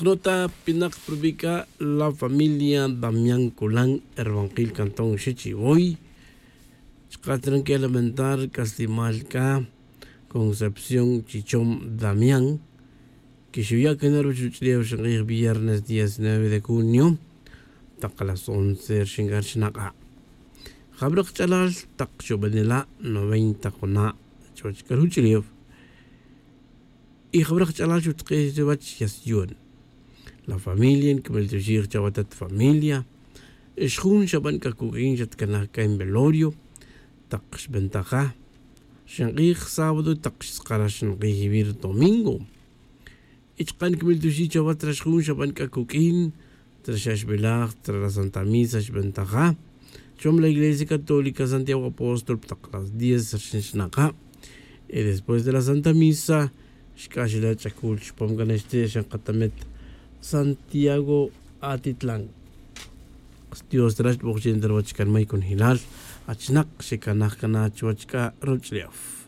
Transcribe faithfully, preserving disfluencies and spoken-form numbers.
K'rota pinak prubika la familia damián colan erbankil cantón xichivoy. Chka' tran que lamentar k'aslimal k'a concepción chichom damián que xuya' cana ruchuch'lew xink'ij viernes diecinueve de junio tak las once xink'ar xnak'a'. Jabra kach'alal tak xubanela' noventa juna' chuwach k'a ruchuch'lew. Y jabra kach'alal xutk'ij chuwach yasyon. La familia nkimiltuxij chawatat familia. Xjun xaban k'a kuk'in xatkanaj k'a en velorio tak xbentaja xink'ij sábado tak xtzakarax xink'ij vir domingo. Y chka' nkimiltuxij chawat rax jun xaban k'a kuk'in traxaxbelaj tra la santa misa xbentaja chom la iglesia católica santiago apóstol tak las diez rxin xnaka'. Y después de la santa misa xk'axela' ch'akul chupam cana xti' xankatamet santiago atitlan. Dios trax b'oqchen ta ruwach kan may kunjilal achnak xekanaj kana chuwach k'a ruch'lew.